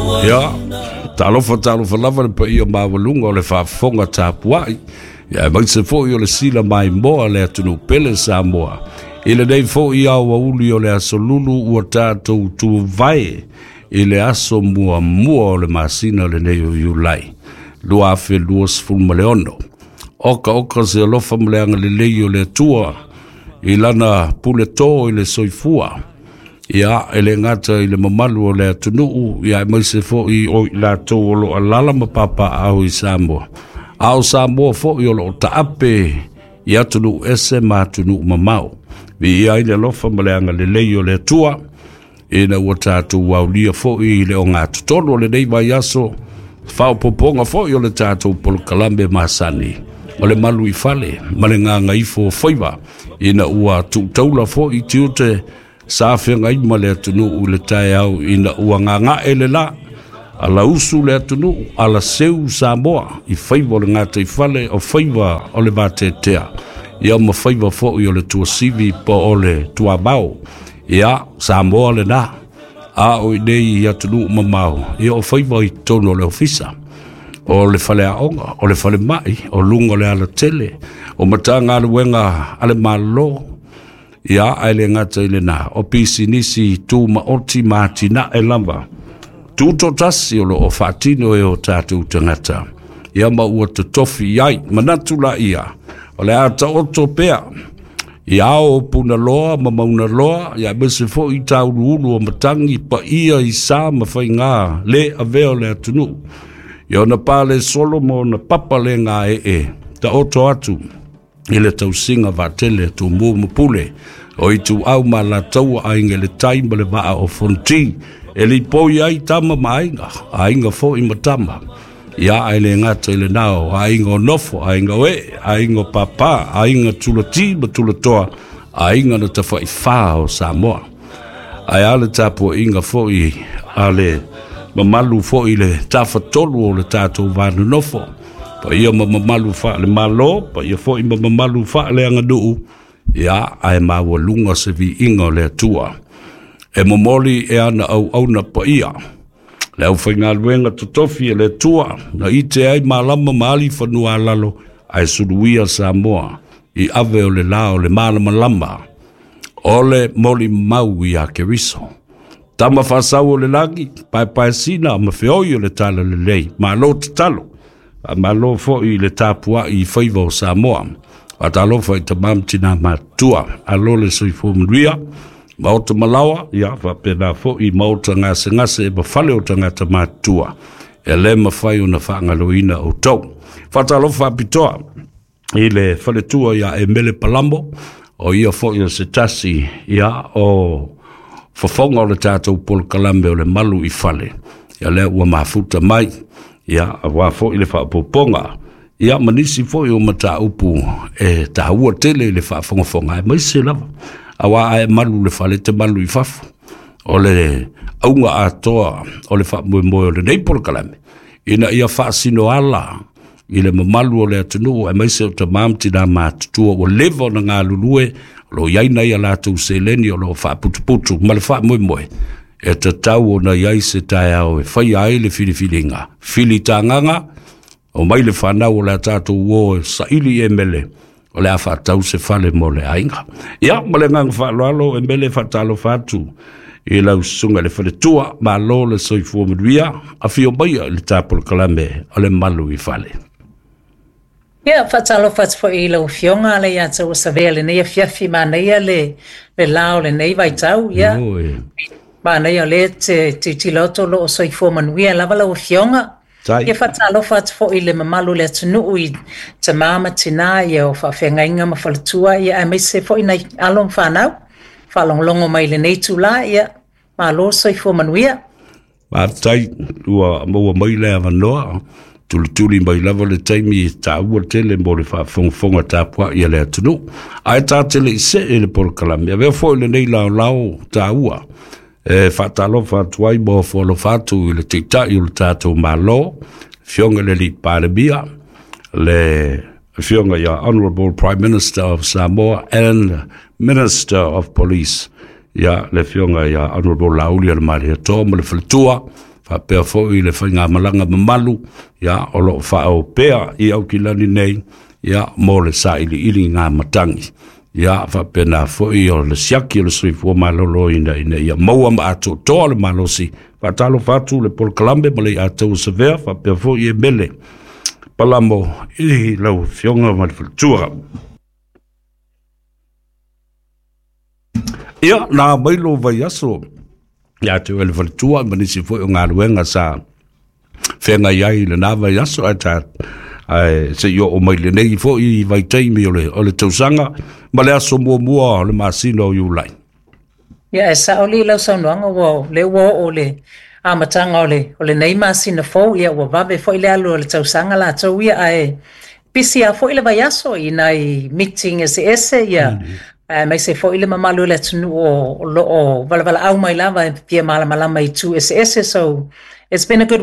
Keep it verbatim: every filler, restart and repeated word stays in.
Ia, talofa talofa lava le paia maualuga o le faafofoga tapuai, ia aemaise foi o le sila maimoa le atunuu pele Samoa. I lenei foi aoauli o le aso Lulu ua tatou tuvae i le aso muamua o le masina lenei o Iulai lua afe luasefulu ma le ono. Oka oka se alofa ma le agalelei o le Atua i lana pule tō i le soifua. Ia, e le gata i le mamalu o le atunuu, ia aemaise foi o i latou o lo o alaala ma papaaao i Samoa. A o Samoa foi o lo o taape i atunuu ese ma atunuu mamao. Viia ai le alofa ma le agalelei o le Atua, ina ua tatou aulia foi i le ogatotonu o lenei vaiaso, faaopoopoga foi o le tatou polokalame masani o le malu i fale ma le gagaifo o faiva, ina ua tuutaula foi tiute sa feagai ma le atunuu i le taeao, ina ua gagae le la ala usu le atunuu, ala seu Samoa i faiva o le gataifale o faiva o le vateatea, ia ma faiva foi o le tuasivi po o le tuamao. Ia, Samoa lena, a o i nei i atunuu mamao, ia o faiva i totonu o le ofisa, o le faleaoga, o le falemai, o luga o le alatele, o Matagaluega a le Malo, ia ae le gata i lena, o pisinisi tumaoti ma atinae lava tutotasi o lo o faatino e o tatou tagata, ia ma ua totofi ai manatu laia o le a taoto pea i ao o Punaloa ma Maunaloa, ia aemaise foi i tauluulu o matagi paia i sa ma faiga le avea o le atunuu, ia ona pale solo ma ona papa le gaee taoto atu i le tausiga vaatele a Tumua ma Pule o Ituau ma Alataua, Aiga i le Tai ma le Vaa o Fonoti, e lipoi ai tama ma aiga, aiga foi ma tama. Ia ae le gata i lena, o aiga o nofo, aiga o ee, aiga o papa, aiga tulati ma tulatoa, aiga na tafaifā o Samoa. Ae a le tapuaiga foi a le mamalu foi le tafatolu o le tatou vanonofo, paia ma mamalu faale-Malo, paia foi ma mamalu faaleaganuu, ia ae maualuga se viiga o le Atua e momoli e ana auauna paia, le aufaigaluega totofi e le Atua na ite ai malama ma ali fanua alalo, ae suluia Samoa i ave o le la o le malamalama o le molimau ia Keriso. Tama faasau o le lagi, paepaesina ma feoi o le talalelei, malo tatalo, malo foi i le tapuai i faiva o Samoa. Faatalofa i tamā ma tinā matutua, alo le soifua manuia, maota malaoa, ia faapena foi maota gasegase ma fale o tagata matutua, e le mafai ona faagaloina outou. Faatalofa faapitoa i le faletua ia Emele Palamo, o ia foi o se tasi ia o fofoga o le tatou polokalame o le malu i fale, ia lea ua mafuta mai, ia aua foi le faaopoopoga, ia ma nisi foi o mataupu e taua tele i le faafogafoga, aemaise lava aua a e malu le fale te malu i fafo. O le auga atoa o le faamoemoe o lenei polokalame, ina ia faasino ala i le mamalu o le atunuu, aemaise o tamā ma tinā matutua ua leva ona galulue, o lo o i ai nai a latou seleni o lo o faaputuputu ma le faamoemoe e tatau ona i ai se taeao e faia ai le filifiliga filitagaga o mai le fanau o le a tatou o e saili e mele o le a faatau se fale mo le aiga. Ia, ma le agaga faaaloalo e mele faatalofa atu i lau susuga i le faletua, malo le soifua manuia, afio maia i le tapolokalame o le malu i fale. Ia, faatalofa atu foi i lau Afioga le ia te ua lenei afiafi, manaia le, le la o lenei vaitau. Ia, manaia o lea te tilotilo atu o lo o soifua manuia lava lau Afioga. Ia faatalofa atu foi i le mamalu o le atunuu i tamā ma tinā, ia o faafeagaiga ma faletua, ia aemaise foi nai alo ma fanau faalogologo mai lenei itulā, ia malo soifua manuia. Faafetai ua maua mai le avanoa, tulituli mai lava le taimi e taua tele mo le faafogafoga tapuai a le atunuu. Ae tatele i see le polokalame, avea foi lenei laolao taua e faatalofa atu ai ma ofo alofa atu i le Taitai o le tatou Malo, Afioga i le Alii Palemia, le Afioga ia Honorable Prime Minister of Samoa and Minister of Police, ia le Afioga ia Honorable Laauli Alamaletoa ma le faletua. Faapea foi le faigamalaga mamalu, ia, o loo faaopea i Aukilani nei, ia, mo le sailiiliga matagi. Ia, faapena foi o le siaki o le soifua maloloina ina ia maua ma atoatoa le malosi. Faatalofa atu le polokalame ma le ia savea, faapea foi e mele palamo i lau afioga ma le faletua. Ia, na mai lo vaiaso ia te oe le faletua ma nisi foi o galuega sa feagai ai i lena vaiaso, ae ta ae seia oo mai lenei foi vaitaimi o le o le tausaga ma le aso muamua o le masina o Iulai. Ia, e sao li lau saunoaga, ua le ua oo le amataga o le o lenei masina fou, ia ua vave foi le alu o le tausaga latou ia, ae pisi a foi le vaiaso i nai meeting eseese, ia aemaise foi le mamalu o le atunuu o loo valaau mai lava e fia malamalama i itu eseese. So it's been a good